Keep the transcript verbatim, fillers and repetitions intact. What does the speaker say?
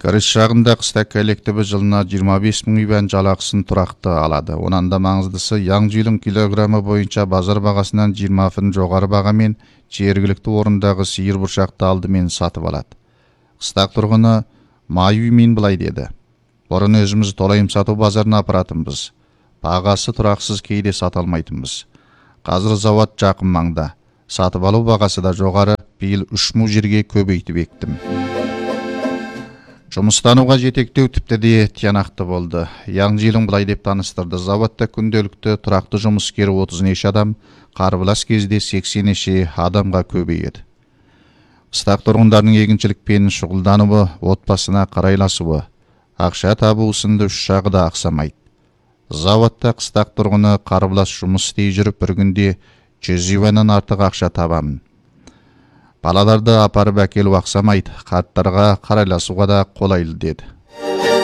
Карыш шагында кыстак коллективи жылына жыйырма беш миң иван жалакысын туракты алады. Онан да маңыздысы яң жыйылым килограммы боюнча базар багасынан жыйырма фын жогары бага менен жергиликтүү орундагы сыйыр бурчакты алды менен сатып алат. Кыстак тургуну Маюй мен былай деди: "Борун өзүбүз толайым сатуу базарына апаратынбыз. Багасы тураксыз, кейде сата алмайтынбыз. Азыр завод жакын маңда. Сатып алуу багасы да жогары. Быйыл үч миң жерге көбөйтүп эктим. Жумустанууга жетектөө типтеди тиянакты болду. Яң жыйылым былай деп тааныстырды: заводдо күндөлүктө турактуу жумускер отуз эш адам, карбылас кезде сексен эши адамга көбөйөт. Кыстак тургундардын эгинчилик менен шугулдануусу, отбасына карайласыбы, акча табуусунда үч жагы да аксамайт. Заводдо кыстак тургуну карбылас жумус истей жүрүп бир күндө жүз ивандан артык акча табам. Балаларды апарып әкелип аксамайт, карттарга карайласууга да колайлуу" деди.